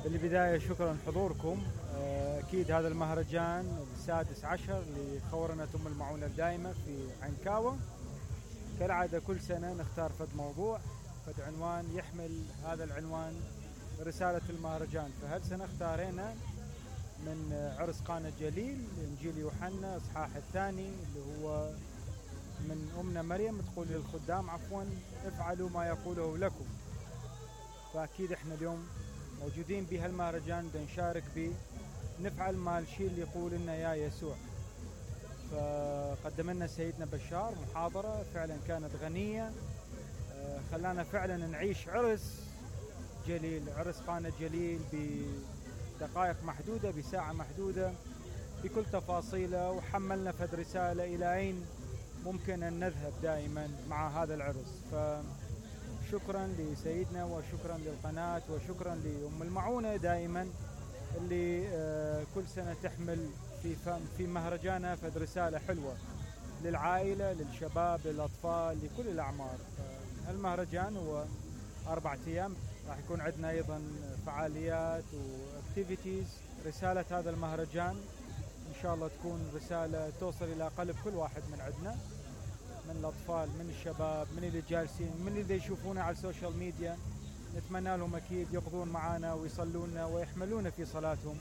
بالبداية شكرا حضوركم. أكيد هذا المهرجان السادس عشر لخورنة أم المعونة الدائمة في عنكاوة. كالعادة كل سنة نختار فد موضوع فد عنوان يحمل هذا العنوان رسالة المهرجان. فهالسنة اختارينا من عرس قانا الجليل إنجيل يوحنا إصحاح الثاني اللي هو من أمنا مريم تقول للخدام افعلوا ما يقوله لكم. فأكيد احنا اليوم موجودين بهالمهرجان نشارك به نفعل ما الشيء اللي يقول لنا يا يسوع. فقدم لنا سيدنا بشار محاضرة فعلا كانت غنية، خلانا فعلا نعيش عرس جليل، عرس قانا الجليل بدقائق محدودة بساعة محدودة بكل تفاصيله، وحملنا فد رسالة إلى أين ممكن أن نذهب دائما مع هذا العرس. فشكرا لسيدنا وشكرا للقناة وشكرا لأم المعونة دائما اللي كل سنة تحمل في مهرجانها فد رسالة حلوة للعائلة للشباب للأطفال لكل الأعمار. المهرجان هو 4 أيام، راح يكون عندنا أيضا فعاليات واكتيفيتيز. رسالة هذا المهرجان إن شاء الله تكون رسالة توصل إلى قلب كل واحد من عندنا، من الأطفال من الشباب من اللي جالسين من اللي يشوفونا على السوشيال ميديا. نتمنى لهم أكيد يقضون معنا ويصلون ويحملون في صلاتهم،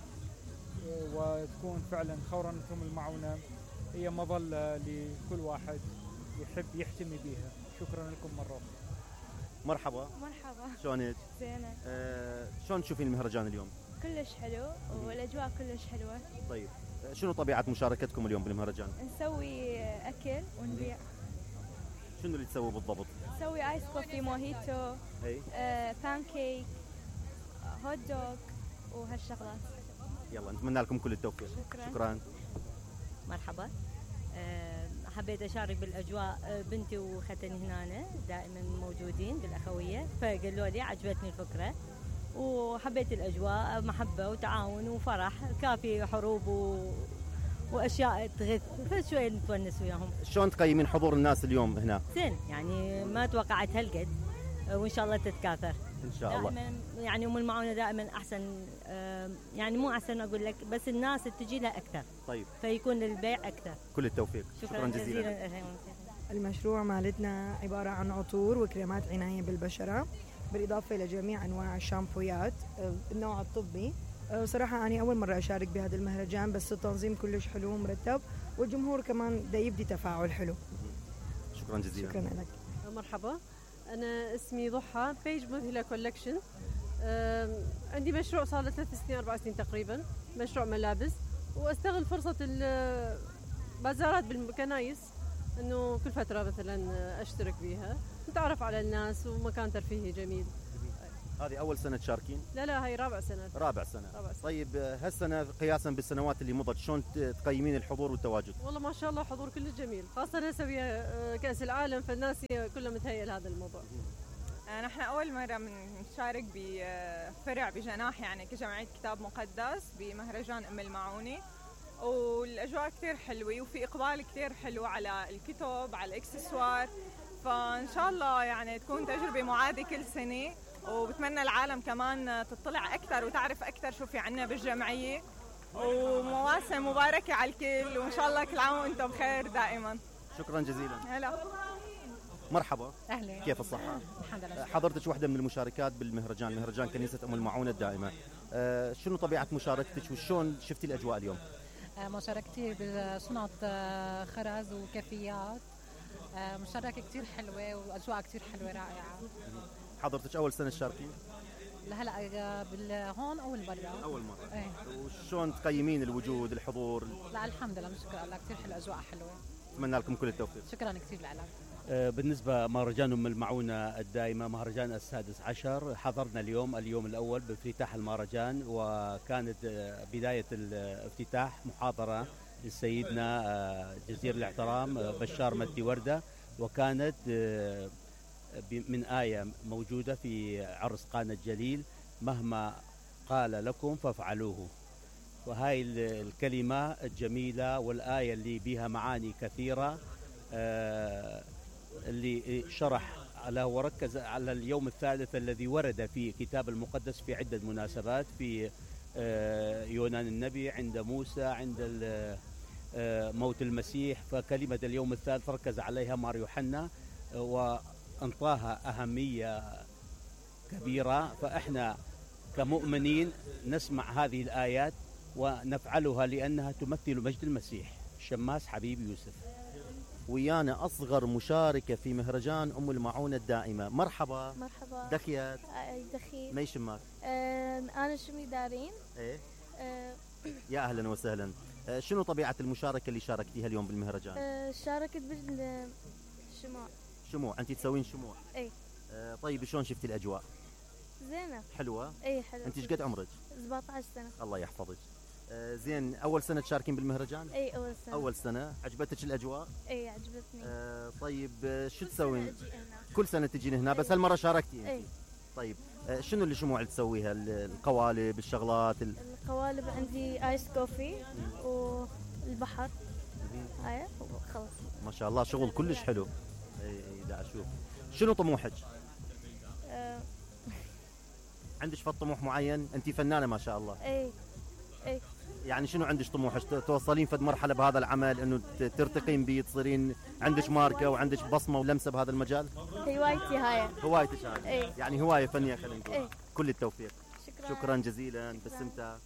وتكون فعلا خورنتهم المعونة هي مظلة لكل واحد يحب يحتمي بها. شكرا لكم مرة أخرى. مرحبا. شلونك؟ زينة. شلون تشوفين المهرجان اليوم؟ كلش حلو والأجواء كلش حلوة. طيب شنو طبيعة مشاركتكم اليوم بالمهرجان؟ نسوي أكل ونبيع. شنو اللي تسوي بالضبط؟ نسوي آيس كوفي موهيتو بانكيك هوت دوغ وهالشغلات. يلا نتمنى لكم كل التوفيق. شكرا. مرحبا. حبيت أشارك بالأجواء، بنتي وختني هنا دائما موجودين بالأخوية، فقالوا لي عجبتني الفكرة وحبيت الأجواء، محبة وتعاون وفرح، كافي حروب وأشياء تغث، فشوية نتونس وياهم. شلون تقيمين حضور الناس اليوم هنا؟ زين، يعني ما توقعت هالقد، وإن شاء الله تتكاثر إن شاء الله. دائما يعني أم المعونة دائما أحسن، يعني مو أحسن أقول لك، بس الناس تجي لها أكثر. طيب فيكون البيع أكثر. كل التوفيق. شكرا جزيلا. المشروع مالتنا عبارة عن عطور وكريمات عناية بالبشرة، بالإضافة إلى جميع أنواع الشامبويات النوع الطبي. صراحة أنا أول مرة أشارك بهذا المهرجان، بس التنظيم كلش حلو ومرتب، والجمهور كمان دا يبدي تفاعل حلو. شكرا جزيلا. شكرا لك. مرحبا، أنا اسمي ضحى، بيج مذهلة كولكشن. عندي مشروع صار له 3 سنين 4 سنين تقريبا، مشروع ملابس، واستغل فرصة البازارات بالكنايس انه كل فترة مثلا اشترك بيها، نتعرف على الناس ومكان ترفيهي جميل. هذه أول سنة تشاركين؟ لا هي رابع سنة. رابع سنة. طيب هالسنة قياسا بالسنوات اللي مضت شلون تقيمين الحضور والتواجد؟ والله ما شاء الله حضور كله جميل، خاصة هسه ويا كأس العالم فالناس كلها متهيئة لهذا الموضوع. نحن أول مرة بنشارك بفرع بجناح يعني كجمعية كتاب مقدس بمهرجان أم المعونة، والأجواء كتير حلوة وفي إقبال كتير حلو على الكتب على الإكسسوار، فإن شاء الله يعني تكون تجربة معادة كل سنة، وبتمنى العالم كمان تطلع أكثر وتعرف أكثر شو في عنا بالجمعية، ومواسم مباركة على الكل، وإن شاء الله كل عام وأنتم بخير دائما. شكرا جزيلا. هلا. مرحبا. أهلا. كيف الصحة؟ الحمد لله. حضرتك واحدة من المشاركات بالمهرجان، مهرجان كنيسة أم المعونة الدائمة. شنو طبيعة مشاركتك وشون شفتي الأجواء اليوم؟ مشاركتي بصناعة خرز وكافيات، مشاركة كتير حلوة وأجواء كتير حلوة رائعة. حضرتك أول سنة تشاركين؟ هلا هون أول مرة. أول مرة. ايه. وشون تقيمين الوجود الحضور؟ لا الحمد لله نشكر الله، كتير حلو، أجواء حلوة. أتمنى لكم كل التوفيق. شكرا كتير لك. بالنسبة مهرجان أم المعونة الدائمة مهرجان السادس عشر، حضرنا اليوم الأول بافتتاح المهرجان، وكانت بداية الافتتاح محاضرة لسيدنا جزير الاحترام بشار مدي وردة، وكانت من آية موجودة في عرس قانا الجليل: مهما قال لكم فافعلوه. وهاي الكلمة الجميلة والآية اللي بها معاني كثيرة اللي شرح وركز على اليوم الثالث الذي ورد في كتاب المقدس في عدة مناسبات، في يونان النبي، عند موسى، عند موت المسيح. فكلمة اليوم الثالث ركز عليها مار يوحنا وانطاها أهمية كبيرة. فإحنا كمؤمنين نسمع هذه الآيات ونفعلها لأنها تمثل مجد المسيح. شماس حبيب يوسف. ويانا أصغر مشاركة في مهرجان أم المعونة الدائمة. مرحبا. مرحبا. دخيات. دخي. ما يشمك؟ أنا شمي دارين. إيه. يا أهلا وسهلا. شنو طبيعة المشاركة اللي شاركتيها اليوم بالمهرجان؟ شاركت بالشموع. شموع، أنت تسوين شموع؟ إيه. طيب شلون شفتي الأجواء؟ زينة. حلوة؟ إيه حلوة. أنت ايش قد عمرك؟ 17 سنة. الله يحفظك. زين، أول سنة تشاركين بالمهرجان؟ إيه أول سنة. أول سنة. عجبتك الأجواء؟ إيه عجبتني. طيب شو تسوين؟ كل سنة تجين هنا، بس هالمرة شاركتي؟ إيه. طيب شنو الشموع اللي تسويها؟ القوالب، الشغلات؟ القوالب عندي آيس كوفي والبحر. هاي وخلص. ما شاء الله شغل كلش حلو. اي دا اشوف. شنو طموحك؟ عندك فد طموح معين؟ انت فنانة ما شاء الله. اي. يعني شنو عندك طموحك؟ توصلين فد مرحلة بهذا العمل انه ترتقين بيه، تصيرين عندك ماركة وعندك بصمة ولمسة بهذا المجال؟ هوايتي هاي. هوايتك هاي. يعني هواية فنية خلينا نقول. ايه. كل التوفيق. شكرا جزيلا باستمتاع.